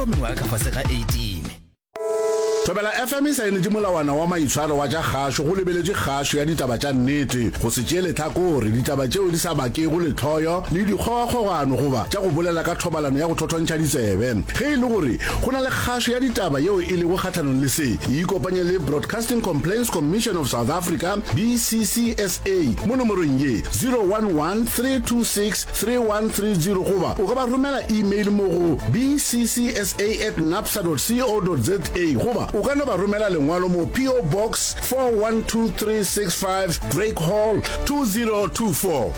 Mengwaga ka fase ga 18. Thobela FM e saenetše molawana wa maitshwaro wa tša kgašo go lebeletše kgašo ya ditaba tša nnete, go se tšee lehlakore, ditaba tšeo di sa bakego lehloyo le dikgogakgogano goba tša go bolela ka thobalano ya go thothontšha ditsebe. Ge e le gore go na le kgašo ya ditaba yeo e lego kgahlanong le se, ikopanye le Broadcasting Complaints Commission of South Africa, BCCSA, mo nomorong ye, 011 326 3130 goba o ka ba romela email mo go bccsa at napsa dot co dot za goba o ka no ba romela lengwalo mo PO Box 412365 Drake Hall 2024.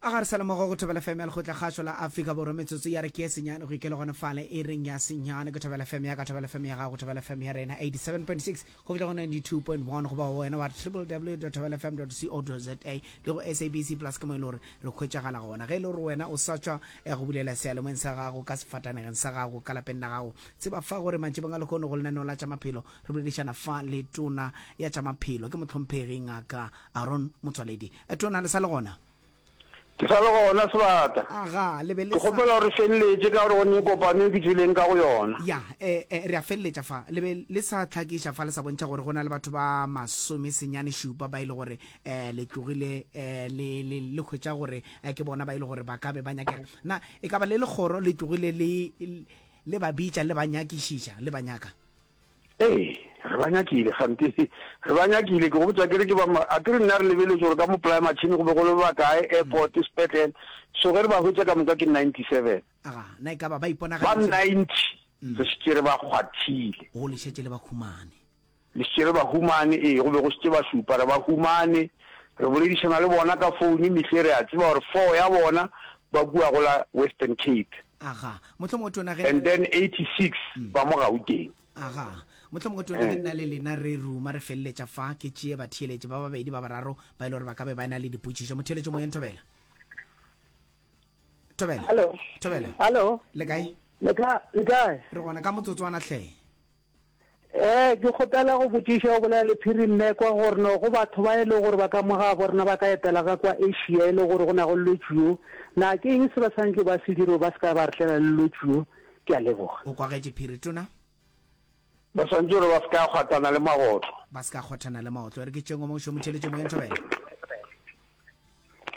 A ga re sa le mogo go Thobela FM ya Lekgotla Kgašo la Afrika Borwa metsotso ya re ke ye senyane go ikele gona fale e reng ya senyane ke Thobela FM ya ka Thobela FM ya gago Thobela FM ya rena 87.6 go fihla go 92.1 goba wena wa www.thobelafm.co.za le go SABC Plus ke mo e le gore re hwetšagala gona. Ge e le gore wena o sa tšwa eh, go bulela sealemoyeng sa gago ka sefatanegeng sa gago ka lapeng la gago, tseba fa gore mantšibong a lehono go lenaneo la tša maphelo re boledišana fa le tona ya tša maphelo ke mohlomphegi Ngaka Aaron Motsoaledi. Eh, tona le sa le gona? Ke sa le gona, Sebata. Aga, le be le Ke sa. kgopela gore re feleletše ka gore go ne kopano e ke tšweleng ka go yona. Ya, e, e, re a feleletša fa. Le be le sa hlakiša fa, le sa bontšha gore go na le batho ba masomesenyane šupa ba e le gore e, le tlogile e, le, le, le hwetša gore e, ke bona ba e le gore ba ka be ba nyakega. Na e ka ba le lekgoro le tlogile le, le ba bitša, le ba nyakišiša, le ba nyaka? Ee, re ba nyakile, kgante re ba nyakile. Ke go botša ke re ke ba, a ke re nna re lebeletše gore ka mo Ply Machine go be go le ba kae, airport, sepetlele. So ge re ba hwetša ka moka ke 97. Aga, na e ka ba ba Ba iponagaditše? 90 re šetše re ba kgwathile. Go le šetše le ba humane. Le šetše re ba humane, ee, go be go šetše ba šupa, re ba humane. Re boledišana le bona ka founu mehle, re a tseba gore four ya bona ba kua go la Western Cape. Aga, mohlomongwe tona ge. And then 86 ba mo Gauteng. Aga, mohlomongwe tona ge nna le lena re ruma re feleletša fa, ke tšee batheeletši ba babedi ba bararo ba e le gore ba ka be ba na le dipotšišo. Motheeletši moyeng, Thobela. Thobela. Hallo. Thobela. Hallo. Le kae? Le ka, le kae? Re gona ka motsotswana hle. Ee, ke kgopela go botšiša go bolela le Phiri Mmekwa gore no go batho ba e le gore ba ka mo gabo rena ba ka etela ka kwa Asia e le gore go na go lwetši yo, na ke eng se ba swanetše ba se dire gore ba se ka ba re tlela le lwetši yo? Ke a leboga. O kwagetše Phiri Tona? Ba swanetše gore ba se ka kgwathana le magotlo. Ba se ka kgwathana le maotlo. E re ke tšengwe mo šomo theletše moyeng Thobela.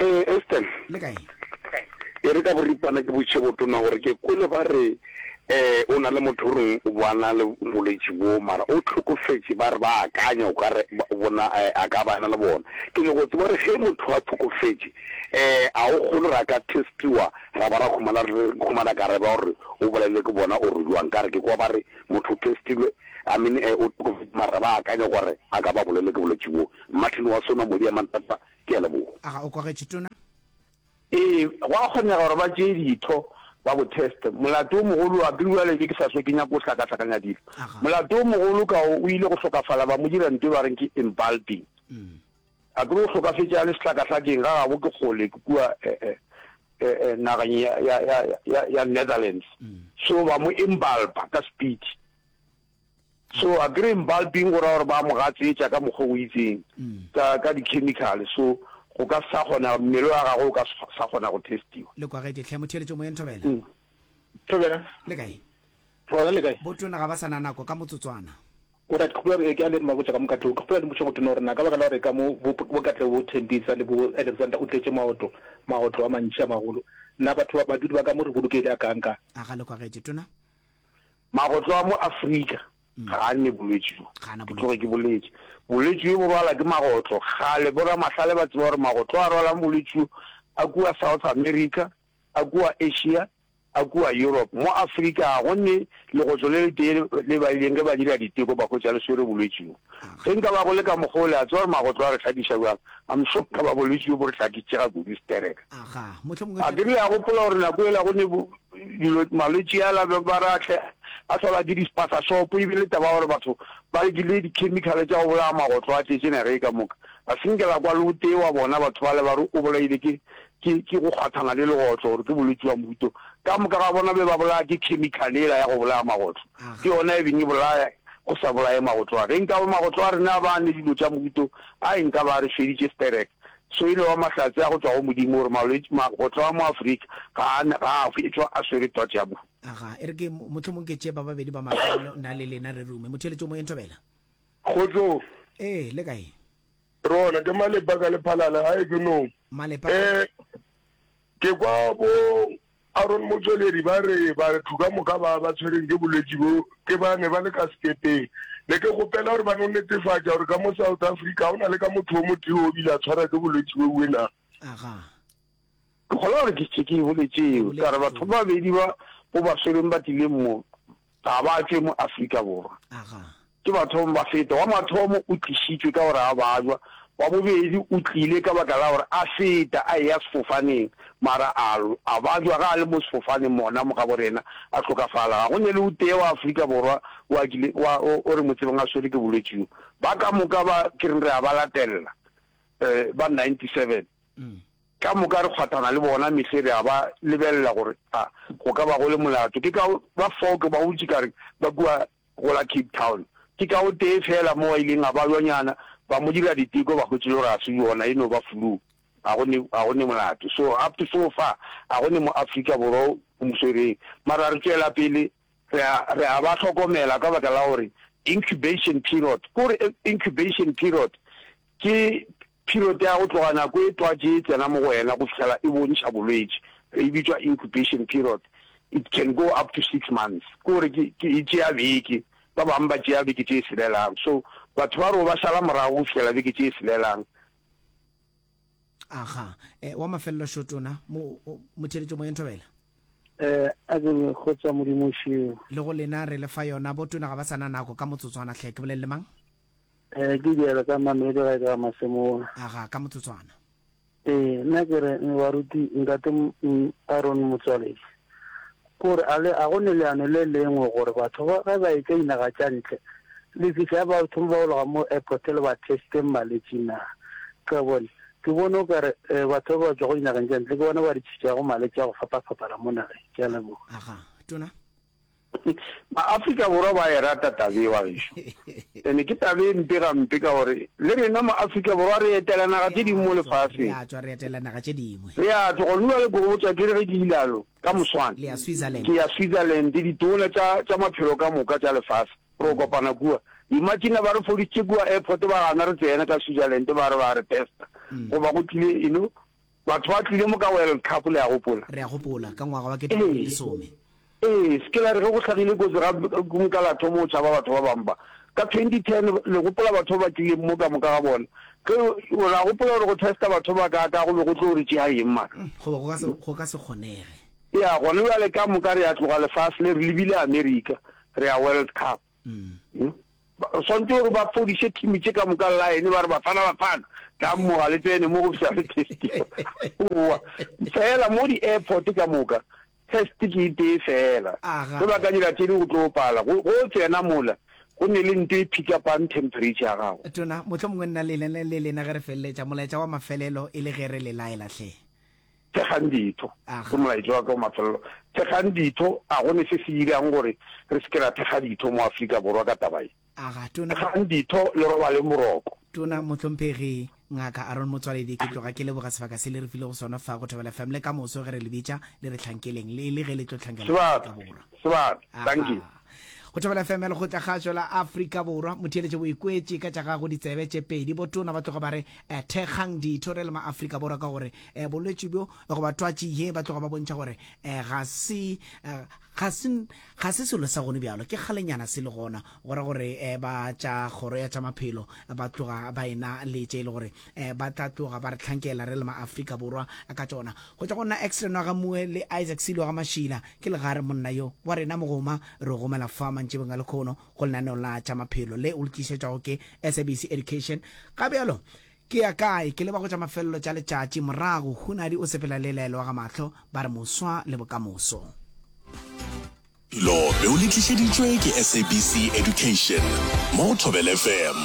Ee, Eston. Le kae? E re ka boripana ke botše botona gore ke kwele ba re um o na le motho o reng o bo a na le bolwetši bo mara o hlokofetše ba re ba akanya o ka re bona a ka ba a na le bona. Ke nyako tseba gore ge motho a hlokofetše um a o kgone gore a ka testiwa ra ba ra humana re humana karabo ya gore o bolailwe ke bona or jwang ka re ke kwa ba re motho o testilwe I mean o hlokofetše mara ba akanya gore a ka ba bolailwe ke bolwetši bo. Martin wa Sona Modi a Mantata Ke a leboga. A ga o kwagetše, Tona? Ee, go a kgonega gore ba tšee ditho ba bo teste. Molato o mogolo, a ke re bjale ke sa hlwe ke nyaka go hlakahlakanya dilo. Molato o mogolo ka o, o ile go hlokafala ba mo dira nto e ba reng ke embalming. A ke re o hlokafetše a le sehlakahlakeng, ga gabo ke kgole, ke kua nageng ya, ya, ya, ya, ya Netherlands. So ba mo embalma ka speed. So a kere embalming go ra gore ba mo gatsetša ka mokgwa o itseng ka ka di-chemical so go ka sa kgona mmele wa gagwe o ka sa kgona go testiwa. Le kwagetše hle motheeletšo moyeng Thobela. Thobela. Le kae? Gona le kae? Botona ga ba sa na nako ka motsotswana. Alright, ke kgopela ke a le mabotša ka mo ka tlong. Ke kgopela le mpotše go tona gore na ka baka la gore ka mo bo bo Katlego bo Thembisa le bo Alexander o tletše maotlo maotlo a mantši a magolo. Na batho ba badudi ba ka mo re bolokehile a kang kang? A ga le kwagetše tona? Magotlo a mo Afrika ga a ne bolwetši bjo. Ke tloge ke boletše. Bolwetši bjo bo rwala ke magotlo. Kgale boramahlale ba tseba gore magotlo a rwalang bolwetši bjo a kua South America, a kua Asia, a kua Europe. Mo Afrika ga go ne legotlo le letee le ba ileng ge ba dira diteko ba hwetša le swere bolwetši bjo. Ge nka ba go le ka mokgwa o, le a tseba gore magotlo a re hlakiša bjang? I'm sure nka ba bolwetši bjo bo re hlakitše ga kudu stereka. A ke re le a gopola gore nako yela go ne dilo malwetši ala ba ba re a tle a hlolwa ke di-spaza shop e bile taba ya gore batho ba rekile di-chemical tša go bolaya magotlo a tletše naga e ka moka. Ga se nke la kwa le o tee wa bona batho bale ba re o bolaile ke ke ke go kgwathana le legotlo gore ke bolwetši bja mohuto. Ka moka ga bona be ba bolaya ke chemical yela ya go bolaya magotlo. Ke yona e beng e bolaya go sa bolaye magotlo a. Ge nkabe magotlo a rena a ba a ne dilo tša mohuto a e nka ba a re feditše sterek. So e no ba mahlatse a go tšwa go Modimo gore malwetši, magotlo a mo Afrika ga a, ga a hwetšwa a swere twatši ya mohu. Aga, e re ke, mohlomong ke tšee ba babedi ba mafelelo, nna le lena re rume. Motheeletši o moyeng, Thobela. Kgotsong. Ee, le kae? Re gona, ke Malepa ka Lephalale, gae ke nong. Malepa. Eh, ke kwa bo Aaron Motsoaledi ba re batho ka moka ba ba tshwereng ke bolwetši bo ke ba ne ba le ka sekepeng. Ne ke kgopela gore ba no netefatša gore ka mo South Africa ga go na le ka motho o motee o bile a tshwara ke bolwetši bo na. Aga. Ke kgolwa gore ke šetše ke e boletše eo, ka re batho ba babedi ba bo ba swereng ba tlileng mo ga ba tšwe mo Afrika Borwa. Ke bathomo ba feta. Wa mathomo o tlišitšwe ka gore a bajwa, wa bobedi o tlile ka baka la gore a feta a eya sefofaneng, mara a, a bajwa ge a le mo sefofaneng mona mo gabo rena, a hlokafala. Ga go ne le o tee wa Afrika Borwa o a kile, wa, o, o re mo tsebang a swerwe ke bolwetši bjo. Ba ka moka ba ke reng re a ba latelela, eh, ba 97. Ka moka re kgwathana le bona mehle re a ba lebelela gore a go ka ba go le molato. Ke ka ba fao ke ba botše ka re ba kua go la Cape Town. Ke ka o tee feela mo a ileng a babjanyana, ba mo dira diteko ba hwetše le gore ga se yona, e no ba flu. Ga go ne, ga go ne molato. So up to so far ga go ne mo Afrika Borwa o mo swereng. Mara re tšwela pele re a, re a ba hlokomela ka baka la gore incubation period, ke gore incubation period ke Period ya go tloga nako e twatši e tsena mo go wena go fihlela e bontšha bolwetši, e bitšwa incubation period. It can go up to six months. Ke gore ke, ke e tšea beke, ba bangwe ba tšea beke tše selelang. So batho ba re o ba šala morago go fihlela beke tše selelang. Aga, eh, wa mafelelo šo tona, mo, motheeletšo moyeng thobela. Eh, a ke re kgotsa Modimo šeo. Le go lena re le fa yona, bo tona ga ba sa na nako ka motsotswana hle, ke bolele le mang? Eh, ke diela ka Mamelodi ga e ka Masemola. Aga, ka motsotswana. Ee, nna ke re baruti ntate Aaron Motswaledi kore a le a go ne leano le lengwe gore batho ba ge ba etša dinaga tša ntle le fihla ba thoma ba ologa mo airport le ba testeng malwetši na ka bone ke bone o kare eh, batho ba ba tšwago dinageng tša ntle ke bona ba re tšhitšago malwetši a go fapafapana mo nageng ke a leboga Aga, tona. Ma-Afrika Borwa ba e rata taba ye wa gešo. Ene ke taba e mpe gampe ka gore le rena ma-Afrika Borwa re etela naga tše dingwe mo lefaseng. Re a tšwa re etela naga tše dingwe. Re a tšwa gona bjale ke go botša ke re ge ke ilalo ka moswane. Le ya Switzerland. Ke ya Switzerland, ditona tša tša maphelo ka moka tša lefase re o kopana kua. Imagine ba re fodisitše kua airport ba gana re tsena ka Switzerland ba re ba re testa goba go tlile you know Batho ba tlile mo ka World Cup, le a gopola? Re a gopola, ka ngwaga wa 2010. Ee, se ke la re ge go hlagile kotsi ga nka la thoma go tšhaba batho ba bangwe ba. Ka 2010, le gopola batho ba ba tlileng mo ka moka ga bona? Ge, la gopola gore go testa batho ba kaakaa go be go tlo re tšea eng mara? Goba go ka se, go ka se kgonege. Ya, gona bjale ka moka re a tloga lefase le, re lebile Amerika, re ya World Cup. Ba swanetše gore ba fodiše team tše ka moka line ba re Bafana Bafana tlang mo ga le tsene mo go fihla le testiwa. Oa fela mo di airport ka moka test ke e tee fela. Ge ba ka dira tše dingwe go tlo pala. Go go tsena mola go ne le nto e pick upang temperature ya gago. Tona, mohlomongwe nna le le lena ge re feleletša molaetša wa mafelelo e le ge re le laela hle. Thekgang ditho. Ke molaetša wa ka wa mafelelo. Thekgang ditho, a go ne se se dirang gore re se ke ra thekga ditho mo Afrika Borwa ka taba ye. Thekgang ditho le robaleng boroko. Tona Mohlomphegi Ngaka Aaron Motsoaledi, ke tloga ke leboga sebaka se le re filego sona fa go Thobela FM le ka moso ge re le bitša le re hlankeleng le le ge le tlo hlankela Afrika Borwa. Sebaka, Dankie. Go Thobela FM ya Lekgotlakgašo la Afrika Borwa, motheeletše o ikwetše ka tša gago ditsebe tše pedi. Botona ba tloga ba re eh, thekgang ditho re le ma-Afrika Borwa ka gore eh, bolwetši bjo goba twatši ye ba tloga ba bontšha gore eh, ga se eh, ga se ga se selo sa gone bjalo ke kgalenyana se le gona go ra gore eh, ba tša kgoro ya tša maphelo ba tloga ba ena le tše e le gore eh, ba tla tloga ba re hlankela re le ma-Afrika Borwa ka tšona go tšwa go nna Exley Nwagamoe le Isaac Silo ga Mašila ke legare monna yo wa rena mogoma re o gomela fa mantšibeng a lekhono go lenaneo la tša maphelo le o le tlišetšwago ke SABC Education. Ga bjalo ke ya kae? Ke leba go tša mafelelo tša letšatši. Morago Hunadi o sepela le Laelo wa ga Mahlo ba re moswa le bokamoso. Lo be o le tlišeditšwe ke SABC Education mo go Thobela FM.